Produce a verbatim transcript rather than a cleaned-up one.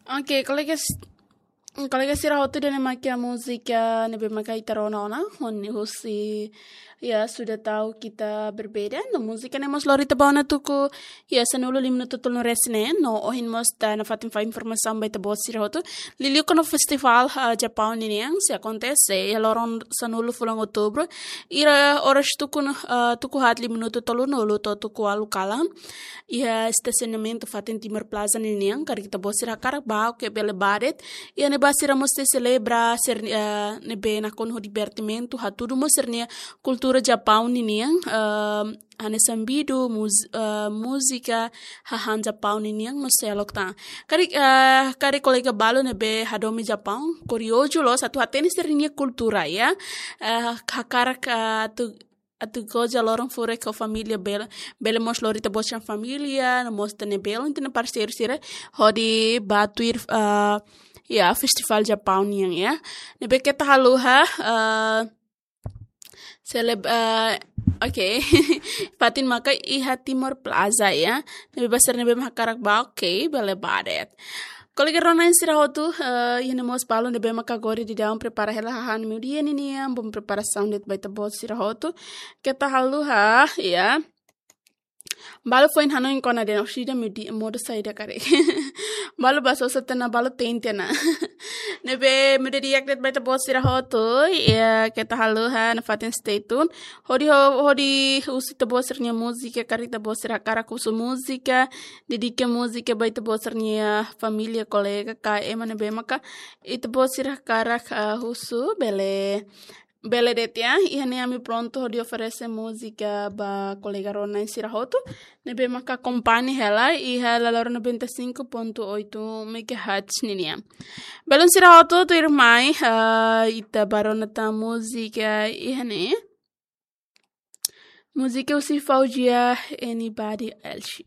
Oke, kolega s-, kolega sira hotu, ida-ne'e mak iha múzika ne'ebé maka ita rona ona, hon husi, ya, Sudah Tahu Kita Berbeda. No múzika ne'e mós lori ita ba ona tuku, ya, sanulu lima minutu tolu resin ne'e, no ohin mós ita nafatin fó informasaun ba ita-boot sira hotu. Liuliu kona-ba festivál, ah, Japaun ninian, sei akontese iha loron sanulu fulan Outubru, iha oras tuku, ah, tuku haat lima minutu tolunulu to'o tuku ualu kalan. Iha estasionamentu fatin Timor Plaza ninian, karik ita-boot sira hakarak bá, oke, bele bá de'it. Iha ne'ebá sira mós sei selebra, sira, eh, ne'ebé nakonu ho divertimentu, hatudu mós sira-nia kultura Japaun ninian, eh, hanesan bidu, muz-, eh, múzika, hahán Japaun ninian, no seluk tan. Karik, eh, karik kolega balu ne'ebé hadomi Japaun, kuriozu loos atu hatene sira-nia kultura, ya. Eh, hakarak, eh, atu atu goza loron furak ho família bele, bele mós lori ita-boot sira-nia família, no mós ita-nia belun, ita-nia parseiru sira, hodi bá tuir, ah, ya, festivál Japaun nian, ya. Ne'ebé keta haluha, ah, seleb-, ah, oke. Fatin maka iha Timor Plaza, ya. Ne'ebé ba sira ne'ebé mak hakarak bá, oke, bele bá de'it. Kolega rona-na'in sira hotu, eh, iha ne'e mós balu ne'ebé maka agora daudaun prepara hela hahán meiudia ninian, bom preparasaun de'it ba ita-boot sira hotu. Keta haluha, ya. Balu foin hanoin kona-ba de'it orsida meiudia, modo saida karik. Balu bá sosa tiha ona, balu tente ona. Ne'ebé meiudia di'ak de'it ba ita-boot sira hotu, ya, keta haluha, nafatin stay tune. Hodi ho-, hodi husu ita-boot sira-nia múzika, karik ita-boot sira hakarak husu múzika, dedika múzika ba ita-boot sira-nia família, kolega, ka ema ne'ebé maka ita-boot sira hakarak, ah, husu, bele, bele de'it, ya. Iha ne'e ami prontu hodi oferese múzika ba kolega rona-na'in sira hotu ne'ebé maka akompaña hela iha laloron noventa e cinco ponto oito megahertz ninian. Belun sira hotu, tuirmai, ah, ita bá rona tan múzika iha ne'e. Múzika husi Fauzia, Anybody Else.